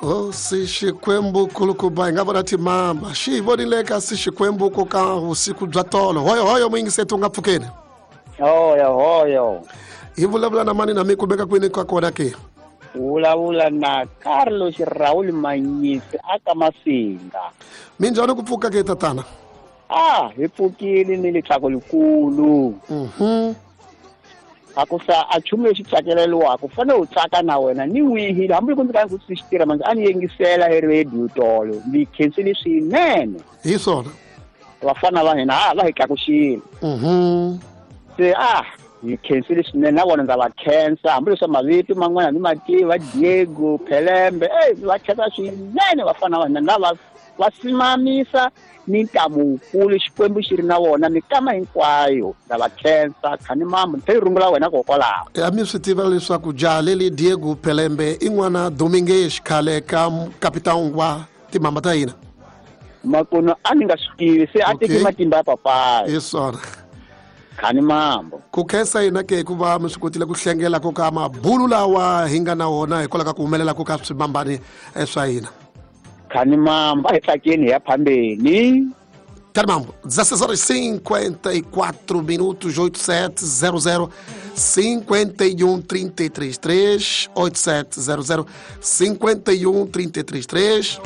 Hosi Xikwembu kulukumba, hi nga vona timamba xi hi vonile kasi Xikwembu ku ka vusiku bya tolo. Hoyo hoyo muyingiseti u nga pfukeni. Hoyo hoyo. Hi vulavula na mani na mi kumeka kwini ka kona ke? Vulavula na Carlos Raul Manyisi aka Masinga. Minjhani ku pfuka ke, tatana? Ah, hi pfukile ni litsako likulu. A ku sa a chumu lexi tsakeleriwaka, u fanele u tsaka na wena ni wihi, hambi loko ndzi ka ndzi swi tirha manje a ni yingisela hi radio tolo, ni khensile swinene. Hi swona. Vafana va hina ha va hi tlakuxile. Se a hi khensile swinene, na vona ndza va khensa, hambileswi mavito man'wana ni mativa, Diego Phelembe, ey, va khensa swinene vafana va hina lava va simamisa ni ntamu wukulu, Xikwembu xi ri na vona mikama hinkwayo. Ndza va khensa khani mambo, ni tlhela rungula wena kokwalaho. Ya mi swi tiva leswaku jaha leli Diego Phelembe i n'wana Domingues, khale ka kapitani wa timhamba ta hina. Makuno a ni nga swi tivi, se a teki matimba ya papayi. Hi swona. Khani mambo. Ku khensa hina ke ku va mi swi kotile ku hlengela ku ka mabulu lawa hi nga na wona hikwalaho ka ku humelela ku ka swimambani swa hina. Khani mambo, a hi tsakeni hi ya phambeni. Khani mambo, 16 horas 54 minutos, 8700 51 33 3, 8700 51 33 3.